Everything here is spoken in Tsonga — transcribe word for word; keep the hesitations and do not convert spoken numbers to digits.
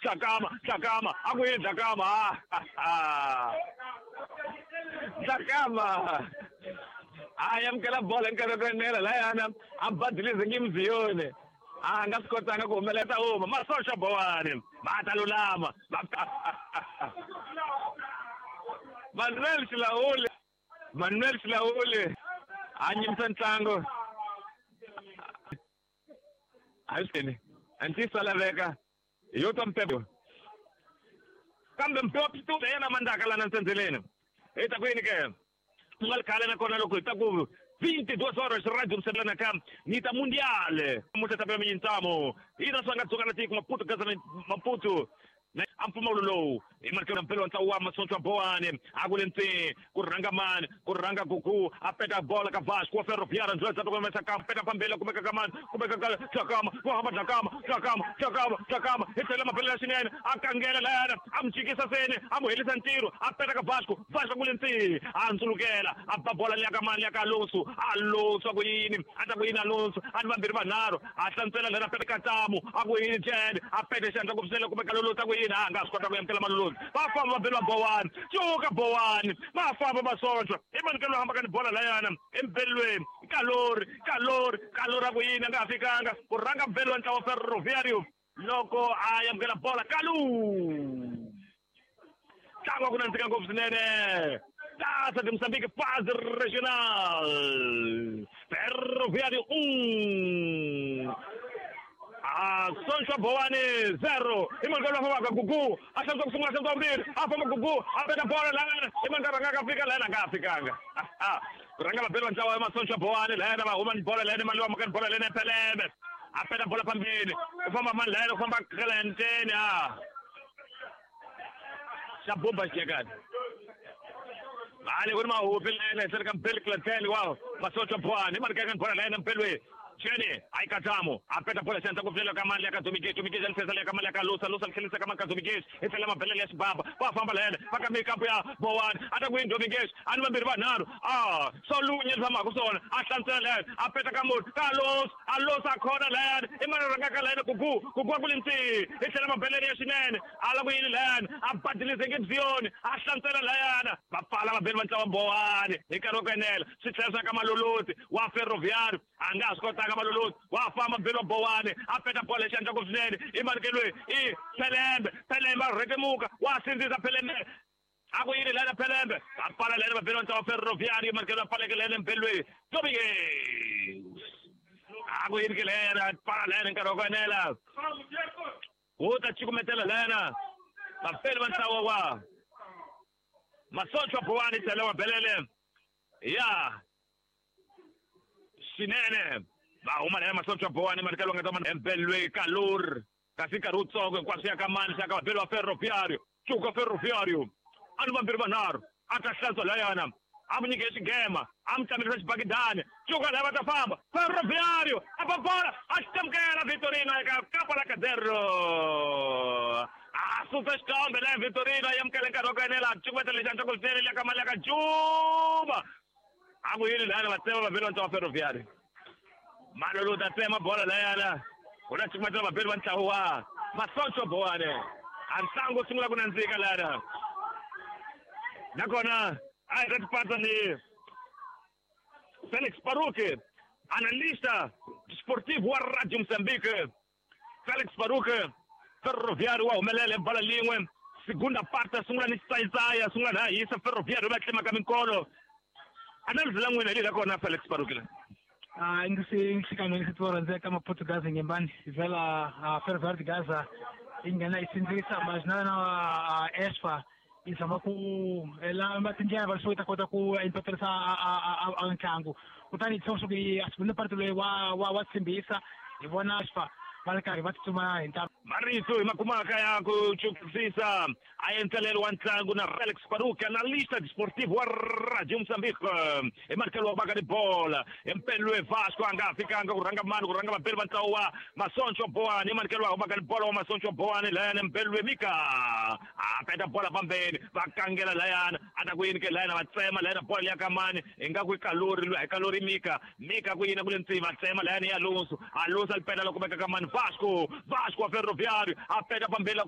Dlakama Dlakama a ku yini Dlakama Dlakama a amukela bolo nkarhi wa ku enela layana a badilize ngimziyoni a nga swi kotanga ku humelela huma Masontswa Bowani va ta lulama Manuel Xilawuli Manuel Xilawuli a nyimisa ntlangu a antiso laveka yo twa mpepo kambe mpepo pitu yena mandaka lana ntsendzeleni hi ta ku yini ke ku nga ri khale nakona loko hi ta ku vinte e duas horas rádio Moçambique ka nita mundial muta ta mintsamo ina swanga tsoka na tiko Maputo gaza Maputo a mpfumawulo lowu hi marikelo mpelo wa ntlawa wa Masontswa Bowani a ku le ntseni ku rhanga mani ku rhanga Gugu a peta bola ka Vasco wa Ferroviário ndzela dza kumesa ka peta pambela kumeka ka mani kumeka ka Dlakama wa hamba Dlakama Dlakama Dlakama Dlakama hi tlhela mapele ya xinene a kangela layana a mu jikisa seni a mu helisa ntirho a peta ka Vasco Vasco ku le ntseni a ndzulukela a ba bola liya ka mani liya ka Alonso Alonso a ku yini a ta ku yini Alonso a ni vambirhi vanharhu a hlantswela lera peta ka Tamu a ku yini Jene a peta xandla ku pfusela kumeka Lolotsi a ku yini a nga swi kota ku amukela Malolotsi va famba va beliwa Bowani cuka Bowani va famba Masontswa i manikelo hamba ka ni bola layana embelweni Kalori Kalori Kalori a ku yini a nga ha fikanga ku rhanga mbelo wa ntlawa Ferroviário loko a amukela bola Kalu ntlangu wa ku nandzika ngopfu swinene Taça de Moçambique fase regional Ferroviário um Ah, Sontswa Bowani zero. Imankalo famba Gugu, a hlantswa ku sungula hlantswa vumbirhi, a famba Gugu, a peta bola lana, imankalo nga fika lana nga fikanga. Ah, ku rhanga vabeli va ntlawa wa Masontswa Bowani lana va huma ni bola lana mali wa mukani bola lana Peleme. A peta bola phambili, ku famba mani lana ku famba Clenteni ah. Xa bomba xiyekani. Vale ku ri mahupi lana henhla ka Mpeli Clenteni wa Masontswa Bowani, imankalo bola lana Mpelweni. Chene ai Katamo a peta bola xandla ku pfulela ka mali ya ka Domingos Domingos a lifesa ka mali ya ka Lusa Lusa tlhelisa ka mali ka Domingos i tlhela mabelele ya xibaba va famba layena va ka mikampu ya Bowani a ta ku yini Domingos a ni vambirhi vanharhu a solunye tshamaka swona a hlantswela layena a peta ka munhu ka Alonso Alonso a khona layena i mani rhanga ka layena Gugu Gugu a ku le ntsini i tlhela mabelele ya xinene a la ku yini layena a badilize ngibziyoni a hlantswela layana va pfala vabeli va ntlawa Bowani hi nkarhi wa ku enela swi tlhela swa ka Malolotsi wa Ferroviário a nga ha swi kotanga Malolotsi wa famba mbelo wa Bowani a peta bola xandla ku swinene i manikelweni i Pelembe Pelembe a rhetemuka wa sindzisa Pelembe a ku yini lana Pelembe a pfala lena vabeli va ntlawa Ferroviário manikelo a pfaleke lena mbelweni Domingos a ku yini ke lena pfala lena nkarhi wa ku enela wu ta cukumetela lena vapeli va ntlawa wa Masontswa Bowani tlhela wa belele ya xinene va huma lena Masontswa Bowani manikelo nga ta embelwe Kalor kasi nkarhi wutsongo hinkwaswo ya ka mani xa ka vabeli va Ferroviário cuka Ferroviário a ni vambirhi vanharhu a ta hlantswa layana a mu nyike xigema a mu tlamelisa xibakidani cuka laya va ta famba Ferroviário a ba bola a xitamukela Vitorino eka kapa la Cadero a susa xikambe laya Vitorino a amukela nkarhi wa ku enela a cukumetela lexi antswa ku swinene liya ka mali ya ka Juma a ku yini layana va tsema vabeli va ntlawa Ferroviário Malolo ta tsema bola layana ku na cukumetela vabeli va ntlawa wa Masontswa Bowani a ntlangu wu sungula ku nandzika layana nakona a hi ta tipatsa ni Felix Baruque analista desportivo wa Radio Moçambique Felix Baruque Ferroviário wa humelela hi bola lin'we segunda parte sungula ni xitsayitsaya sungula na hisa Ferroviário va tlimaka minkolo analyse la n'wina hi leyi la kona Felix Baruque la Ah, ngisikano ngisithola ka Maputo Gaza ngembani vela a Ferroviário de Gaza yi nghena yi sindzisa mas na a Esfa yi zama ku ela tindlela va leswaku yi ta kota ku empaterisa a a ntlangu kutani hi leswaku a segunda parte loyi wa wa wa tshembisa hi vona Esfa va ri karhi va tsutsuma hi ntalo marito hi makumaka ya ku chukisisa a endzelelo wa ntlangu na Felix Baruque analista desportivo wa Radio Moçambique hi manikelo wa baka ni bola empelwe Vasco a nga fikanga ku rhanga mani ku rhanga vabeli va ntlawa wa Masontswa Bowani hi manikelo wa baka ni bola wa Masontswa Bowani layana empelwe Mika a peta bola pambeni va kangela layana a ta ku yini ke layana va tsema layana bola ya ka mani hi nga ku i Kalori lwa hi Kalori Mika Mika ku yini ku le ntsini va tsema layana ya Alonso Alonso a li peta loko veka ka mani Vasco Vasco wa Ferroviário a peta pambeni la